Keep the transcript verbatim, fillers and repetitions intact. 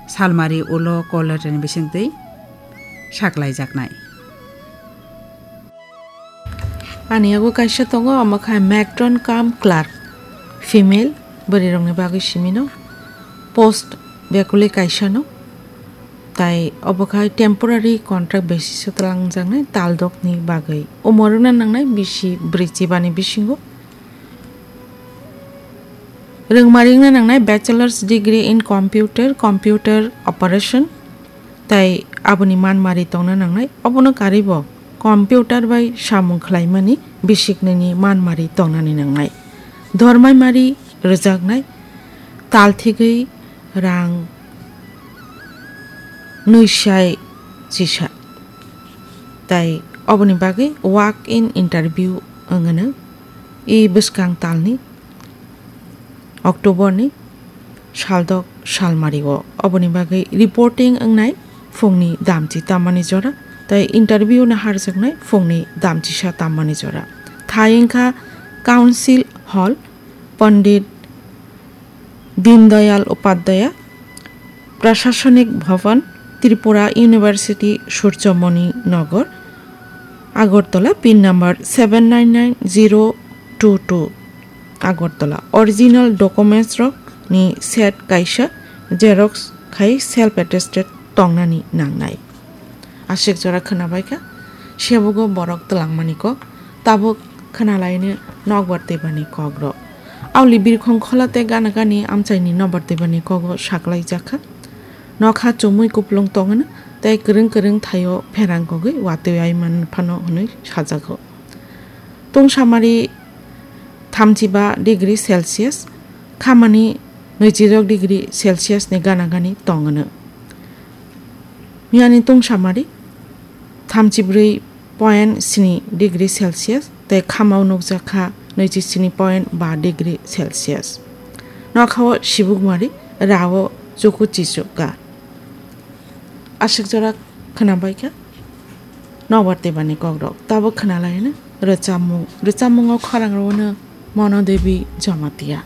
salmari ulo call letter ni bisingtwi saklaijaknai. Ani yago kaisa tongo, omo kha matron cum clerk, female, bwrwi rokni bagwi simino, post bekuli kaisa no, tai obo khai temporary contract basis o twlangjaknai tal dokni bagwi. Umor wngna nangnai bisi brwi chibani bisingo. Rwngmari wngna nangnai bachelor's degree in computer, computer operation, tai aboni manmari tongna nangnai. Obono karwi bo computer bai samung khlaimani bisiknwini manmari tongnani nangnai. Dormaimari rwjaknai, tal thigwi rang nwi sai chisa. Tai oboni bagwi walk in interview wngno. I bwskang talni October ni saldok salmari o. Oboni bagwi reporting wngnai phungni damchi tammani jora, tai interview no harjaknai phungni damchisa tammani jora. Thai wngkha Council Hall, Pandit Dindayal Upadhyaya Prashasanik Bhavan, Tripura University, Surjomoni Nagar, Agartala, pin number seven nine nine zero two two, Agartala. Original documents rok ni set kaisa xerox khai self attested tongnani nangnai. Aswk jora khwnabaikha, sebugo borok twlangmani kok, tabuk khwnalaino nokbar twibani kokrok. Auli birkhong khola tei gana gani amchaini nokbar twibani kogo saklaijakha. Nokha chumui kuplung tongwino tei kwrwng kwrwng thaio pherang kogwi watwi ai man phano hwnwi sajago. Tungsamari thamchiba degree Celsius, khamani nwichirok degree Celsius ni gana gani tongwino. Miyani tungsamari thamchibrwi point sini degree Celsius tei khamao nukjakha nwichi sini point ba degree Celsius. Nokhao sibukmari rao chuku chichuka. Aswk jora khwnabaikha nokbar twibani kokrok. Tabuk khwnalaino rwchapmung. Rwchapmungo khorang rwno Mono Devi Jamatia.